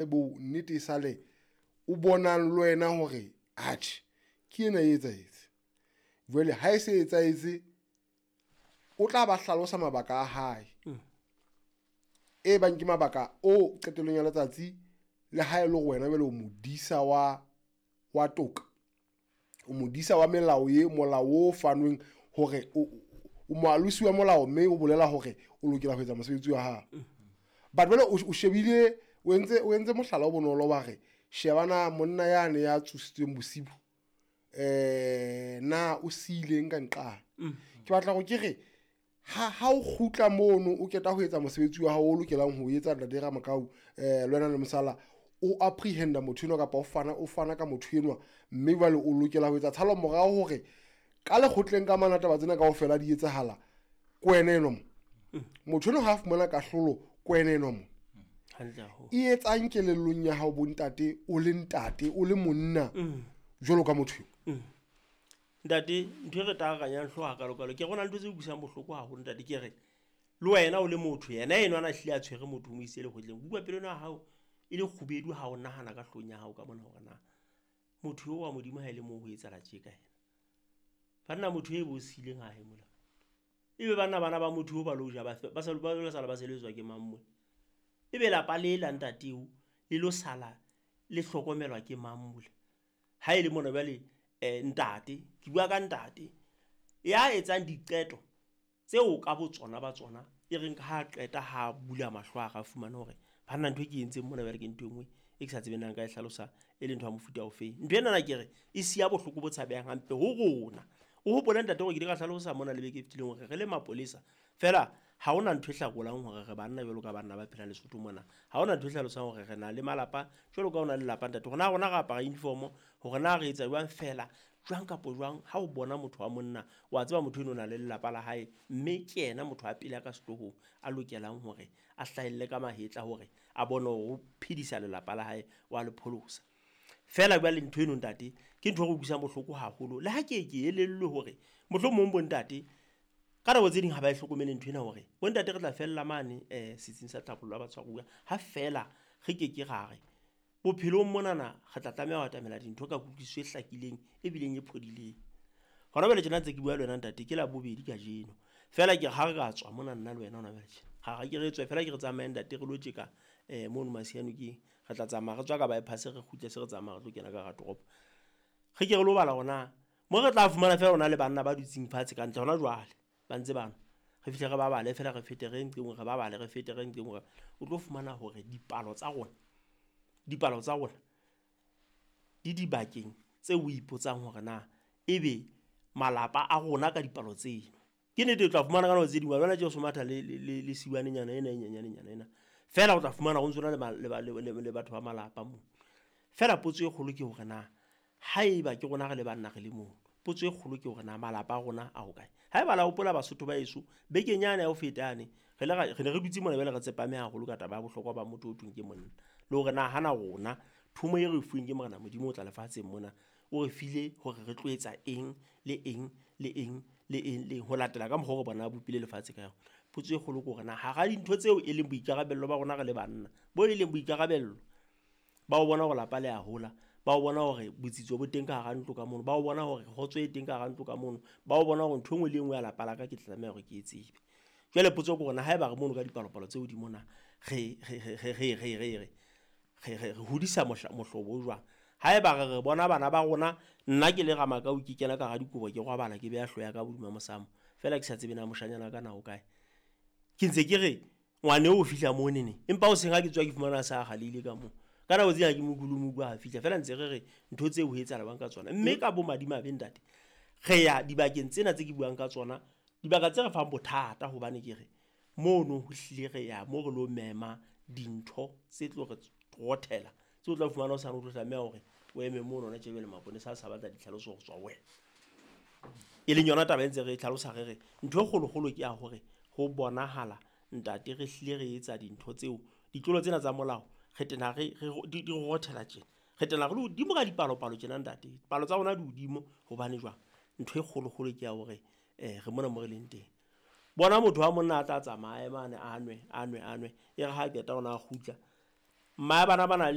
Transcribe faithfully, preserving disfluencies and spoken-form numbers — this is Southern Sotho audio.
Bo nnete e sale o bonang le wena hore atjhe ke ena e etsahetse. Jwale ha e se etsahetse, o tla ba hlalosa mabaka a hae, e bang ke mabaka o qetellong ya letsatsi le ha e le hore wena jwale o modisa wa wa toka, o modisa wa melao e molao o fanweng hore o o moalosi wa molao, mme o bolela hore o lokela ho etsa mosebetsi wa hao. But jwale o shebile o entse o entse mohlala o bonolo wa re shebana monna yane ya tsositsweng bosibu eh na o siileng ka nqane. Ke batla hore ke re ha ha o kgutla mono o qeta ho etsa mosebetsi wa hao o lokelang ho etsa ntate Ramakau eh le wena le mosala o apprehend-a motho enwa kapa o fana o fana ka motho enwa, mme jwale o lokela ho etsa tshalo morao hore ka lekgotleng ka mana taba tsena kaofela di etsahala ke wena enwa mo. Motho enwa ha fumana kahlolo ke wena enwa mo. Hantle haholo. E etsang kelellong ya hao bontate, o le ntate o le monna jwalo ka motho eo? Ntate, ntho e re tarakanyang hlooho hakalokalo ke re ho na le ntho tse utlwisang bohloko haholo ntate. Ke re le wena o le motho, yena enwa a na hlile a tshwere motho o mo isitse lekgotleng, utlwa pelo ena ya hao e le kgubedu ha o nahana ka hloohong ya hao ka mona hore na motho eo wa Modimo ha e le moo ho etsahala tje ka yena. Banna motho e bo siileng ha hae mola, ebe banna bana ba motho eo ba lo ja ba ba sa ba lo sala ba sebeletswa ke mang mona? Ebe lapa le la ntate eo le lo sala le hlokomelwa ke mang mole? Ha e le mona jwale eh ntate, ke bua ka ntate ya etsang diqeto tseo ka botsona ba tsona e reng ha qeta ha bula mahlo a ka fumana hore banna ntho e ke entseng mona jwale ke ntho e nngwe e ke sa tsebeng na nka e hlalosa e le ntho ya mofuta ofeng. Ntho enana ke re e siya bohloko bo tshabehang hampe ho rona. O hopole ntate hore ke ile ka hlalosa mona le beke e fetileng hore re le mapolesa fela ha hona ntho e hlakolang hore re banna jwalo ka banna ba phelang Lesotho mona. Ha hona ntho e hlalosang hore re na le malapa jwalo ka o na le lelapa ntate. Hore na rona re apara uniform, hore na re etsa jwang fela jwang kapo jwang. Ha o bona motho wa monna wa tseba motho eno o na le lelapa la hae, mme ke yena motho wa pele a ka sehloohong a lokelang hore a hlahelle ka mahetla hore a bone hore o phedisa lelapa la hae wa le pholosa. Feela jwale ntho eno ntate ke ntho e re utlwisang bohloko haholo. Le ha ke ke elellwe hore mohlomong bo ntate ka nako tse ding ha ba e hlokomele ntho ena hore bo ntate re tla fella mane eh setsing sa tlhabollo ya batshwaruwa ha feela re ke ke ra re bophelong monana re tla tlameha ho atamela dintho ka kutlwisiso e hlakileng e bileng e phodileng. Hona jwale tjena ntse ke bua le wena ntate ke Labobedi kajeno, feela ke re ha re ka tswa mona nna le wena hona jwale tjena ha re ke re tswe feela ke re tsamaye ntate re lo tjeka eh mono Masianokeng. Re tla tsamaya re tswa ka bypass re kgutle se re tsamaya re tlo kena ka hara toropo. Re ke re lo bala hore na mo re tla fumana feela hona le banna ba dutseng fatshe ka ntle hona jwale ba ntse ba nwa. Re fihle re ba bale feela re fete re nqeng re ba bale re fete re nqeng hore o tlo fumana hore dipalo tsa rona dipalo tsa rona di dibakeng tseo o ipotsang hore na ebe malapa a rona ka dipalo tseno. Ke nnete o tla fumana ka nako tse ding wa bona tje o so matha le le le le siwanenyana ena e nyenyanenyana ena. Feela o tla fumana ho ntso na le le le le batho ba malapa moo. Feela potso e kgolo ke hore na haeba ke rona re le banna re le moo, potso e kgolo ke hore na malapa a rona a hokae? Haeba la hopola Basotho ba heso bekeng yane ya ho feta yane re le re ne re dutse mona jwale re tsepame haholo ka taba ya bohlokwa ba motho o thweng ke monna. Le hore na hana rona thomo e re fuweng ke Morena Modimo o tla lefatsheng mona o re file hore re tlo etsa eng le eng le eng le eng le eng ho latela ka mokgwa o re bona a bopile lefatshe ka yona. Potso e kgolo ke hore na hara dintho tseo e leng boikarabello ba rona re le banna, bo e leng boikarabello ba ho bona hore lapa le a hola, ba ho bona hore botsitso bo teng ka hara ntlo ka mono, ba ho bona hore kgotso e teng ka hara ntlo ka mono, ba ho bona hore ntho e nngwe le e nngwe ya lapa la ka ke tla tlameha hore ke e tsebe. Jwale potso ke hore na haeba re mono ka dipalopalo tse hodimo na re re re re re re re re re re hodisa mohlobo o jwang? Haeba re re bona bana ba rona, nna ke le Ramakau ke kena ka hara dikobo ke robala ke beha hlooho ya ka hodima mosamo feela ke sa tsebe na moshanyana wa ka na o kae. Ke ntse ke re ngwane o fihla mo neneng, empa hoseng ha ke tswa ke fumana a sa kgaleile ka moo. Ka nako tse ding ha ke mo utlwe le mo utlwa ha fihla feela ntse re re ntho tseo ho etsahala jwang ka tsona. Mme ka bomadimabe ntate re ya dibakeng tsena tse ke buang ka tsona, dibaka tse re fang bothata hobane ke re mono ho hlile re ya mo re lo mema dintho tse tlo re rothela tseo o tla fumana hosane o tlo tlameha hore o eme mono hona tje jwale maponesa a sa batla ditlhaloso ho tswa ho wena. E leng yona taba e ntse re e tlhalosa re re ntho e kgolokgolo ke ya hore ho bonahala ntate re hlile re etsa dintho tseo ditlolo tsena tsa molao re tena re di di rothela tjena. Re tena re le hodimo ka dipalopalo tjena ntate. Palo tsa rona di hodimo hobane jwang? Ntho e kgolokgolo ke ya hore eh re mona mo re leng teng. Bona motho wa monna a tla tsamaya mane a nwe a nwe a nwe e re ha qeta hona a kgutla. Mma bana ba na le